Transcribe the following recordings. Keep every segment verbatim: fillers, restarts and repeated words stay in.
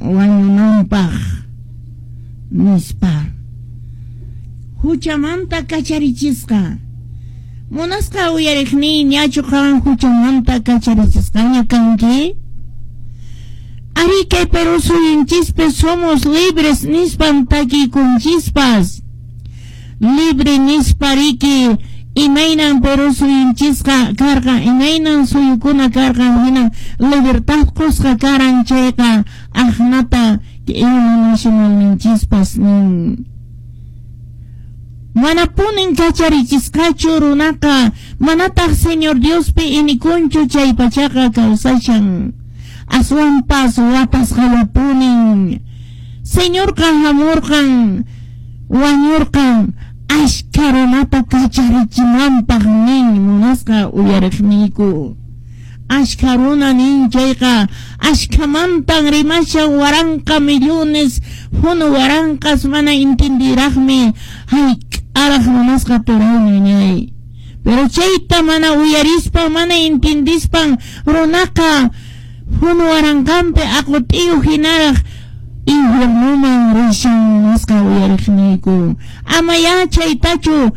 Wañunanpaq nispa huchamanta kacharichisqa. Munasqa uyariqniy, ñachu qan huchamanta kacharichisqaña kanki? Ari kay Perú suyunchispi somos libres nispan takikunchispas. Libre nispa riki imaynan Perú suyunchisqa karqan, imaynan suyukuna karqan, hinan libertad qusqa karan chayqa aqnata himno nacionalninchispas nin. Manapunin kacharichisqachu runaqa, manataq Señor Diospi inikunchu chay pachaqa kawsashan. Aswanpas watasqallapunin. Señorqa hamurqan, wañurqan, ashka runata kacharichinanpaq nin munasqa uyariqniyku. Ashka runa nin chayqa ashkamantan rimashan waranqa millones, hunu waranqas mana entendiraqmi hayk'araq munasqa turayñañay. Pero chayta mana uyarispan, mana entendispan runaqa hunu waranqanpi aqut'iyu hinaraq infiernuman rishan munasqa uyariqniyku. Ama ya chaytachu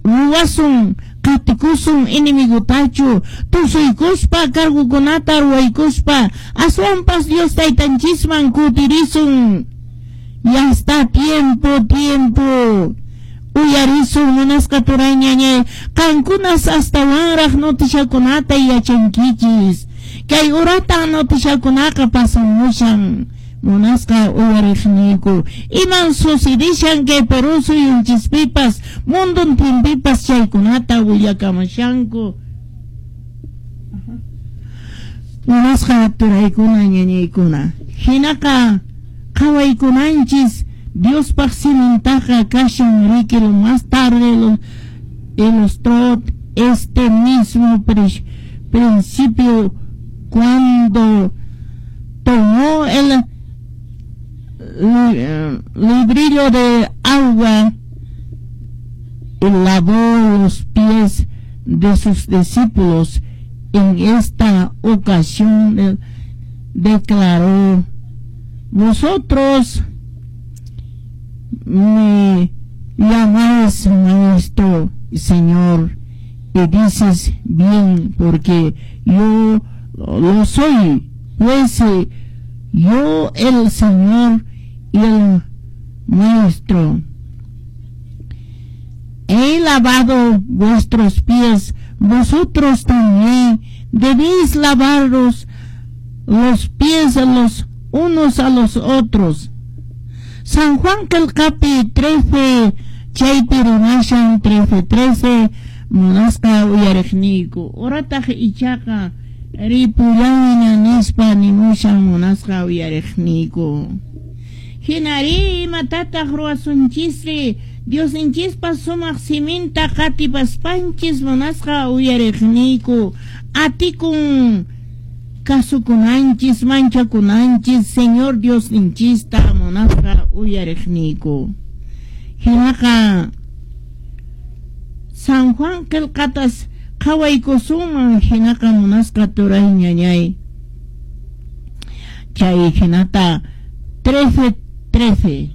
ruwasun, qatikusun enemigutachu, tusuykuspa cargukunata ruwaykuspa, aswanpas Dios taytanchisman kutirisun. Ya está tiempo, tiempo. Uyarisun munasqa turayñañay, qankunas astawanraq notishakunata yachankichis. Kay uratan notishakunaqa pasamushan. Munasqa uyariqniyku. Iman sucedishan kay Perú suyunchispipas, munduntinpipas chaykunata willakamushanku. Munasqa turaykuna ñañaykuna. Hinaqa qhawaykunanchis Diospaq simintaqa kashan riki lo más tarde lo ilustró este mismo principio cuando tomó el librillo de agua y lavó los pies de sus discípulos. En esta ocasión declaró: vosotros me llamáis maestro y señor, y dices bien, porque yo lo soy. Pues yo, el Señor y el Maestro, he lavado vuestros pies, vosotros también debéis lavaros los pies a los unos a los otros. San Juan Qillqapi trece, chaypi rimashan trece trece, munasqa uyariqniyku. Urataq ichaqa ripullayña nispa nimushan munasqa uyariqniyku. Hinari imatataq ruwasunchisri Diosninchispa sumaq siminta qatipaspanchis munasqa uyariqniyku. Atikun kasukunanchis, manchakunanchis Señor Diosninchista munasqa uyariqniyku. Hinaqa San Juan qillqatas qhawaykusunman hinaqa munasqa turay ñañay. Chay hinata trece trece.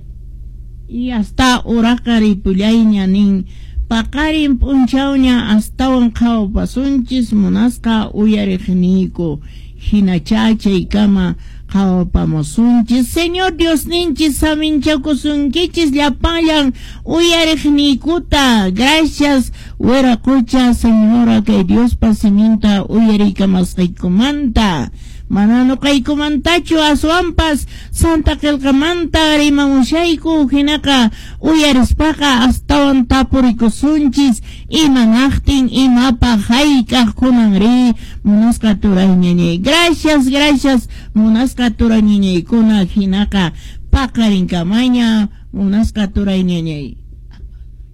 Y hasta uraqa ripullayña nin paqarin p'unchawña astawan qhawapasunchis munasqa uyariqniyku. Hinacha chaykama qhawapamusunchis. Señor Diosninchis saminchakusunkichis llapanllan uyariqniykuta. Gracias Wiraqucha Señora kay Diospa siminta uyariykamasqaykumanta. Mana nuqaykumantachu aswanpas Santa Qillqamanta rimamushayku. Hinaqa uyarispaqa astawan tapurikusunchis imanaqtin imapaq hayk'aq kunanri munasqa turayñañay. Gracias, gracias munasqa turayñañaykuna. Hinaqa paqarinkamaña munasqa turayñañay.